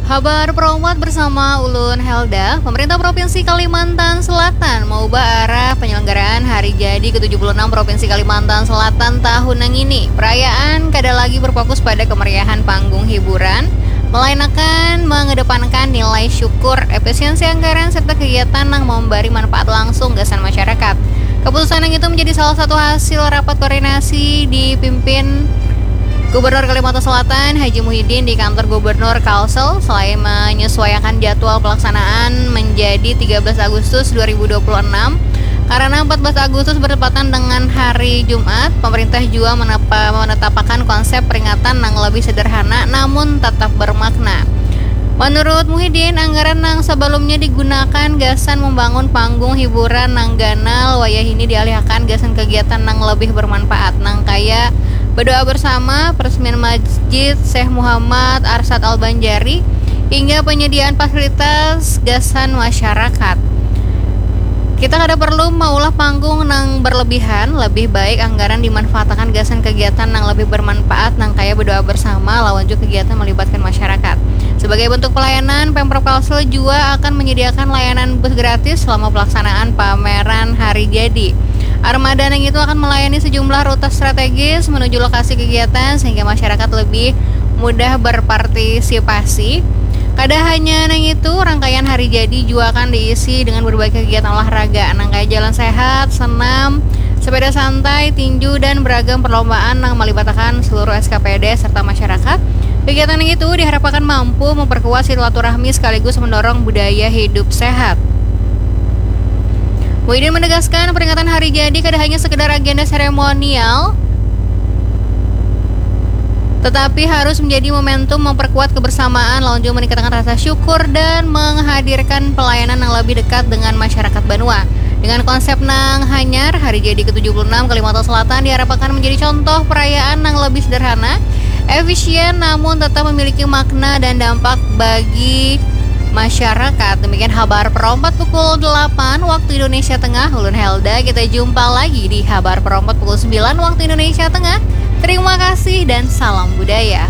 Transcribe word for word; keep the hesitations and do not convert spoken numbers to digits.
Habar Perompat bersama ulun Helda. Pemerintah Provinsi Kalimantan Selatan mengubah arah penyelenggaraan Hari Jadi ke tujuh puluh enam Provinsi Kalimantan Selatan tahun nang ini. Perayaan kada lagi berfokus pada kemeriahan panggung hiburan, melainkan mengedepankan nilai syukur, efisiensi anggaran, serta kegiatan yang memberi manfaat langsung gasan masyarakat. Keputusan yang itu menjadi salah satu hasil rapat koordinasi dipimpin Gubernur Kalimantan Selatan Haji Muhyiddin di kantor Gubernur Kalsel selain menyesuaikan jadwal pelaksanaan menjadi tiga belas Agustus dua ribu dua puluh enam karena empat belas Agustus bertepatan dengan hari Jumat, pemerintah juga menapa, menetapkan konsep peringatan yang lebih sederhana namun tetap bermakna. Menurut Muhyiddin, anggaran yang sebelumnya digunakan gasan membangun panggung hiburan nang ganal wayah ini dialihkan gasan kegiatan nang lebih bermanfaat nang kaya berdoa bersama, peresmian Masjid Syekh Muhammad Arsyad Al-Banjari, hingga penyediaan fasilitas gasan masyarakat. Kita kada perlu maulah panggung nang berlebihan, lebih baik anggaran dimanfaatkan gasan kegiatan nang lebih bermanfaat nang kaya berdoa bersama lawan juga kegiatan melibatkan masyarakat. Sebagai bentuk pelayanan, Pemprov Kalsel juga akan menyediakan layanan bus gratis selama pelaksanaan pameran Hari Jadi. Armada nang itu akan melayani sejumlah rute strategis menuju lokasi kegiatan sehingga masyarakat lebih mudah berpartisipasi. Kada hanya nang itu, rangkaian Hari Jadi juga akan diisi dengan berbagai kegiatan olahraga nang kaya jalan sehat, senam, sepeda santai, tinju, dan beragam perlombaan yang melibatkan seluruh S K P D serta masyarakat. Kegiatan yang itu diharapkan mampu memperkuat silaturahmi sekaligus mendorong budaya hidup sehat. Muhyiddin menegaskan peringatan Hari Jadi kada hanya sekedar agenda seremonial, tetapi harus menjadi momentum memperkuat kebersamaan lawan juga meningkatkan rasa syukur dan menghadirkan pelayanan yang lebih dekat dengan masyarakat banua. Dengan konsep nang hanyar, Hari Jadi ke tujuh puluh enam Kalimantan Selatan diharapkan menjadi contoh perayaan yang lebih sederhana, efisien, namun tetap memiliki makna dan dampak bagi masyarakat. Demikian Habar Perompat pukul delapan waktu Indonesia Tengah. Ulun Helda, kita jumpa lagi di Habar Perompat pukul sembilan waktu Indonesia Tengah. Terima kasih dan salam budaya.